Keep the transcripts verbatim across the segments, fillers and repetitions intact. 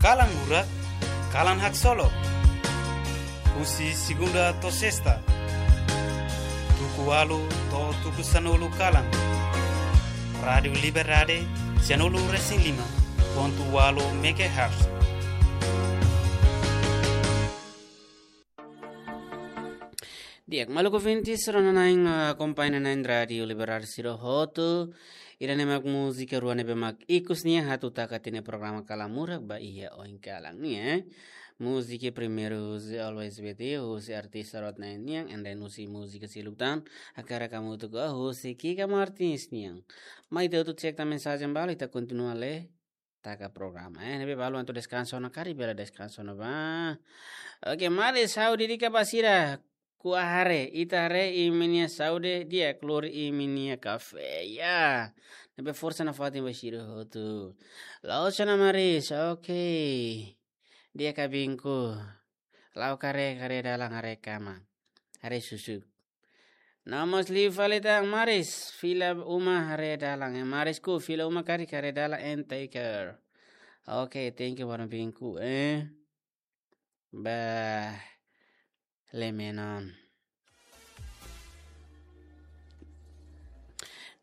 Kalan Murak, kalan haksolok. Husi segunda to'o sesta, tuku ualu to'o tuku sanulu kalan. Rádiu Liberdade, sianulu resin lima pontu ualu megahertz. Di'ak, maluk ouvintes, rona-na'in, ah, akompaña na'in Rádiu Liberdade sira hotu. Ida-ne'e mak múzika rua ne'ebé mak ikus nian atu taka tiha ona programa Kalan Murak ba iha oin kalan nian, eh. Múzika primeiru husi Always With You, husi artista Rod Nine nian, and then husi múzika seluk tan, hakarak hamutuk ho husi Kika Martins nian. Mai ita hotu cek tan mensajen balu, ita kontinua lee taka programa, eh. Ne'ebé balu atu deskansa ona karik, bele deskansa ona ba. Oke, Maris, ha'u dedika ba sira, kuah haree, ita haree imi-nia saúde di'ak, lori imi-nia kafé, ya. Ne'ebé forsa nafatin ba sira hotu. La'ós ona Maris, oke. Di'ak, kabingku. La'o karik, haree dalan, haree kama, haree susuk. No mós liu fali tan Maris, fila uma haree dalan, eh, Marisku, fila uma karik, haree dalan and take care. Oke, thank you, warna bingku, eh. Ba, lemenon.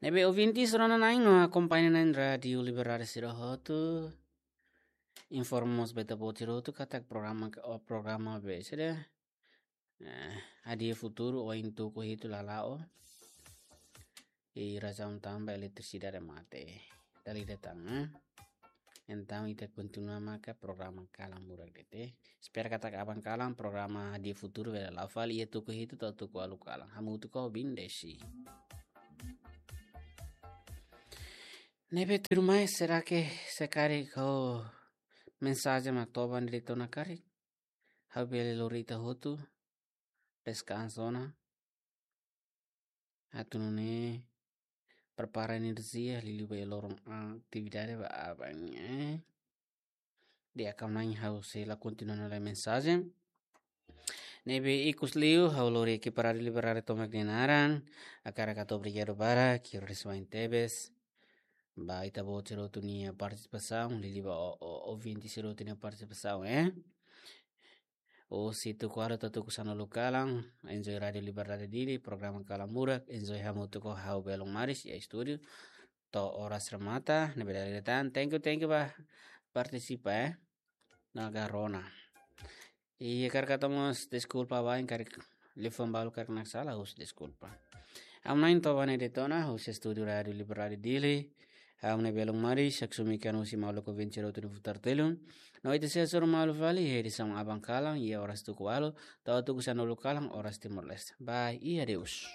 Ne'ebé ouvintes rona-na'in no akompaña na'in Rádiu Liberdade sira hotu. Informa mós ba ita-boot sira hotu katak programa ke, o programa be sira, eh, Hadi'a Futuru ohin tuku hitu la la'o. I razaun tanba eletrisidade mate. Dala ida tan, eh. Entaun ita kontinua maka programa Kalan Murak de'it. Espera katak aban kalan programa Hadi'a Futuru bele la'o fali iha tuku hitu to'o tuku ualu kalan. Hamutuk ho Bindesi. Ne'ebé tuirmai, será que se karik ho mensajen mak toba ona de'it ona karik, ha'u bele lori ita hotu deskansa ona. Atu nune'e prepara enerjia, liuliu ba iha loron atividade ba aban nian, eh. Di'ak, ha'u-na'in ha'u sei la kontinua ona lee mensajen. Ne'ebé ikus liu, ha'u lori ekipa Rádiu Liberdade tomak nia naran, hakarak hato'o obrigadu barak, kiro respoin tebes ba ita-boot sira hotu nia partisipasaun, liuliu ba o, o, ouvinte sira hotu nia partisipasaun, eh. Husi tuku ualu to'o tuku sanulu kalan, enjoy Rádiu Liberdade Dili, programa Kalan Murak, enjoy hamutuk ho ha'u belun Maris iha estúdiu. To'o oras remata, ne'ebé dala ida tan, thank you, thank you ba partisipa, eh. Naga rona. I hakarak hato'o mós deskulpa ba ohin karik liafuan balu karik naksalan, husu deskulpa. Ha'u-na'in toba ona de'it ona, husi estúdiu Rádiu Liberdade Dili. Ha'u-nia belun Maris, haksomikan husi maluk ouvinte sira hotu nia futar telun. No ita sei hasoru malu fali iha edisaun aban kalan, iha oras tuku ualu to'o tuku sanulu kalan, oras Timor-Leste. Bye, i adeus.